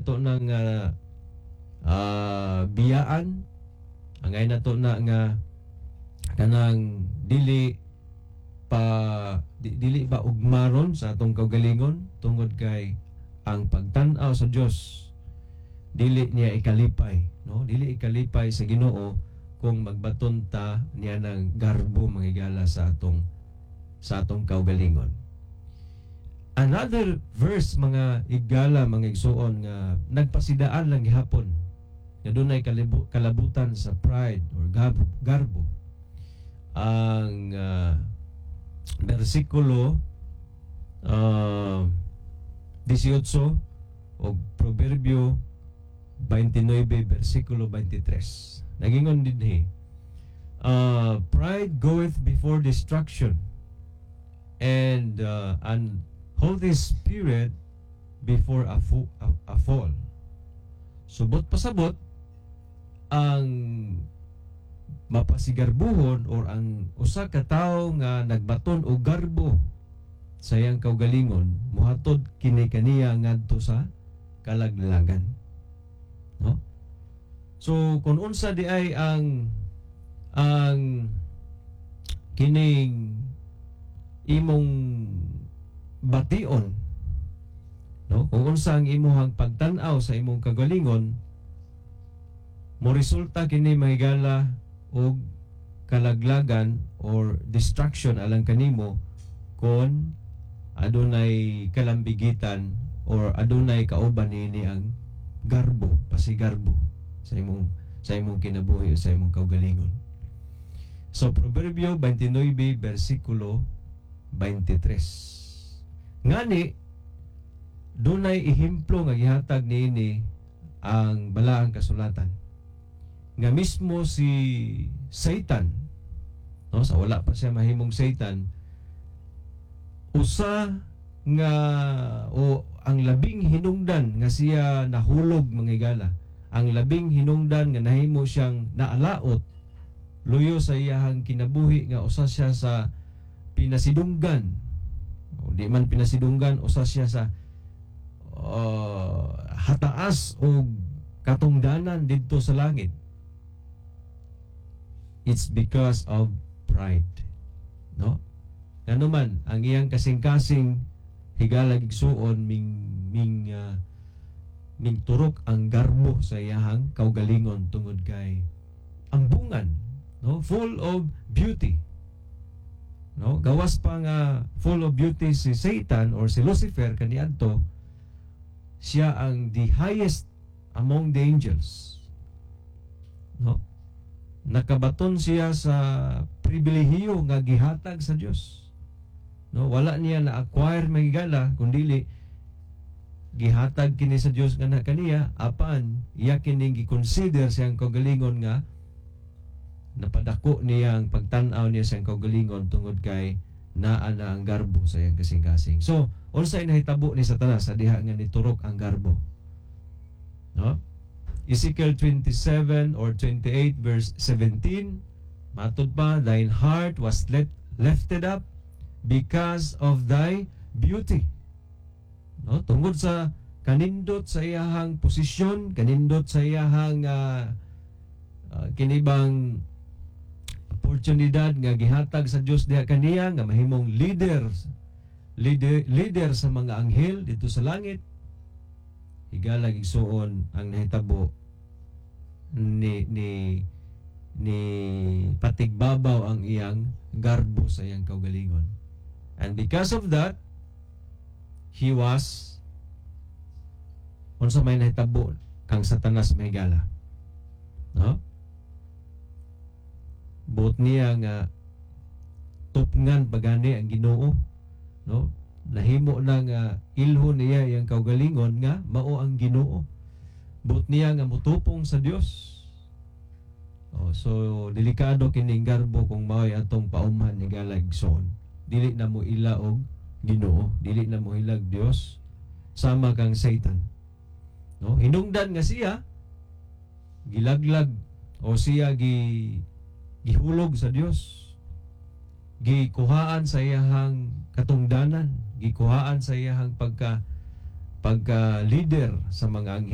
nato nang biyaan, angay nato na nga kanang dili pa dili ba ugmaron sa atong kaugalingon, tungod kay ang pagtan-aw sa Dios, dili niya ikalipay, no? Dili ikalipay sa Ginoo kung magbaton ta niya ng garbo, mga higala, sa atong kaugalingon. Another verse, mga higala, mga igsuon, nga nagpasidaan lang gihapon nga dunay kalabutan sa pride or garbo, ang bersikulo 18 o Proverbio 29 bersikulo 23. Nagingon dinhi, "Pride goeth before destruction and an haughty spirit before a fall." Subot pasabot, ang mapasigarbuhon or ang usa ka tawo nga nagbaton og garbo sa iyang kaugalingon, muhatod kini kaniya ngadto sa kalaglagan, no? So kung unsa di ay ang kining imong bation, no, kung unsa ang imong pagtan-aw sa imong kagalingon, mo resulta kini, mga higala, og kalaglagan or destruction alang kanimo kon adunay kalambigitan or adunay kauban niini ang garbo, pasigarbo sa imong kinabuhi o sa imong kaugalingon. So Proverbio 29 bersikulo 23. Ngani dunay ehemplo nga gihatag niini ang Balaang Kasulatan nga mismo si Satan, no, sa wala pa siya mahimong Satan, usa nga o ang labing hinungdan nga siya nahulog, mga higala, ang labing hinungdan nga nahimo siyang naalaot luyo sa iyahang kinabuhi nga usa siya sa pinasidunggan o di man pinasidunggan, usa siya sa hataas og katungdanan didto sa langit, it's because of pride, no? Ngano man ang iyang kasing-kasing, higala, igsuon, ming turok ang garbo sa iyahang kaugalingon tungod kay ambungan, no, full of beauty, no? Gawas pa nga full of beauty si Satan or si Lucifer kaniadto, siya ang the highest among the angels, no? Nakabaton siya sa pribilehiyo nga gihatag sa Dios, no? Wala niya na acquire, mga higala, kundili gihatag kini sa Dios nga na kaniya. Apan iya kining gi-consider siyang kaugalingon nga napadako niya ang pagtan-aw niya siyang kaugalingon tungod kay naa na ang garbo sa iyang kasing-kasing. So unsay nahitabo ni Satanas sa diha nga niturok ang garbo, no? Ezekiel 27 or 28 verse 17, matud pa, "Thine heart was lifted up because of thy beauty," no? Tungod sa kanindot sa iyahang posisyon, kanindot sa iyahang kinibang oportunidad nga gihatag sa Dios diha kaniya nga mahimong leader sa mga anghel dito sa langit. Higala, igsuon, ang nahitabo ni patigbabaw ang iyang garbo sa iyang kaugalingon, and because of that he was, unsa may nahitabo kang Satanas, mga higala, no? Buot niya nga tupngan pagani ang Ginoo, no? Nahimo na nga ilhon niya iyang kaugalingon nga mao ang Ginoo. Buot niya nga mutupong sa Dios. Oh, so delikado kining garbo kung mao'y atong paumhan, higala, igsoon. Dili na mo ila og Ginoo, dili na mo ilag Dios, sama kang Satan, no? Hinungdan nga siya gilaglag o siya gihulog sa Dios, gikuhaan sa iyahang katungdanan, gikuhaan sa iyahang pagka leader sa mga anghel.